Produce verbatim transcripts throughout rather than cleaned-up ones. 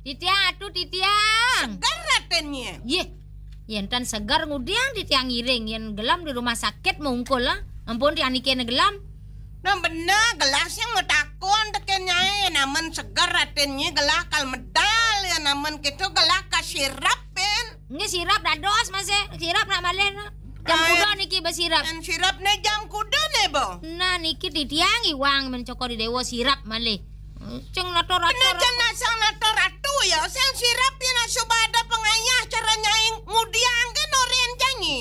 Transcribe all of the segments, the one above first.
Titiang, atu titiang. Seger raténnye. Yeh. Yén tan seger ngudiang titiang ngiring, yén gelem di rumah sakit mungkul, ah. Ampun tiang niki né gelem. Nah, bener, gelah sing matakon tekén nyai, yén amen seger raténnye gelah kal medal, yén amen kéto gelah kasirep, Pin. Nggih, sirep dados, Mas, eh. Sirep nak malih, nah. Jam Ae. Kuda niki besirep. Yén sirep né jam kuda né, Bo? Nah, niki titiang iwang men Cokor I Déwa sirep malih. Ceng nator-ator. Bener jan nasang nator ratu ya. Sing sirep yén suba ada pangayah cara nyai ngudiang ké noren janyi.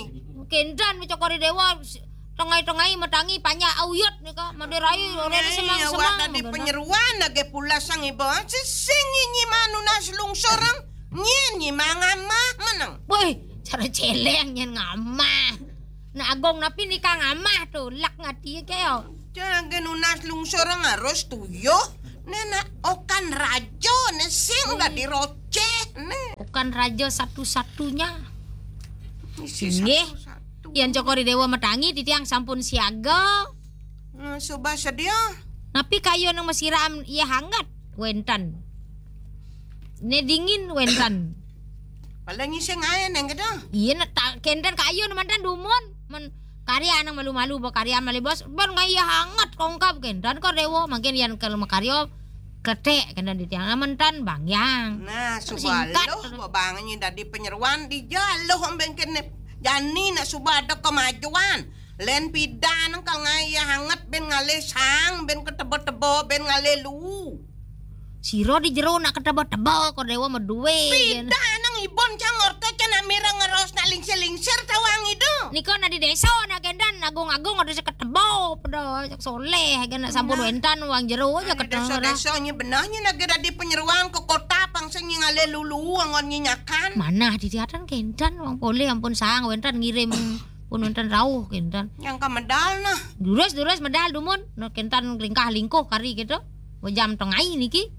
Kénten men Cokor I Déwa s-, tengai-tengai matangi panjak auyut nika, madirai oren semang-semang. Awak dadi penyeruan lagi pula sang iba. Sesing nyi manunas lungsurang, nyen nyi mangamah meneng. Woi, cara céléng nyén ngamah. Nah, Agung napi nika ngamah to, lek ngati ké yo. Cara ge nunas lungsurang harus tuyuh. Né nak okan raja né sing dadi rocéh né. Okan raja satu-satunya. Isi Nggih. Satu-satu. Yén Cokor I Déwa matangi titiang sampun siaga. Nah, suba sedia. Napi kayun nang masiram iya hangat? Wénten. Né dingin wénten. Paling ngising ae neng kéto. Iya, nak ta-, kénten kayun manten dumun. Men karya nang malu-malu ba karya malih bos. Ban ngayah hangat kongkab kénten Kor Déwa. Mangkin yén kal makarya kleték kénten titiang. Manten bangyang. Nah, suba Singkat. Aluh, ba bang nyi dadi penyeruan dija aluh amben kéné. Jani nak suba ada kemajuan. Lén pidan kal ngayah hangat ben ngalih sang, ben keteba-teba, ben ngalih lu. Sira di jero nak keteba-teba, Kor Déwa madué. Pidan nang ibun cang orta cang nak mireng ngeros nak lingsir-lingsir tawang idu. Nika nak di désa nak kénten agung-agung ada sing keteba, pada soléh, kan nak sampun Nah. Wénten wang jero aja Nah, keteba. Désa-désa nyi benah nyi nak dadi penyeruan ke kota pang sing nyi ngalih lulu anggon nyi nyakan. Manah di tiatan kénten wang polih ampun sang wénten ngirim pun wénten rauh kénten. Yang ka medal nah. Durus-durus medal dumun, nah kénten lingkah-lingkuh kari kéto. Jam tengai niki.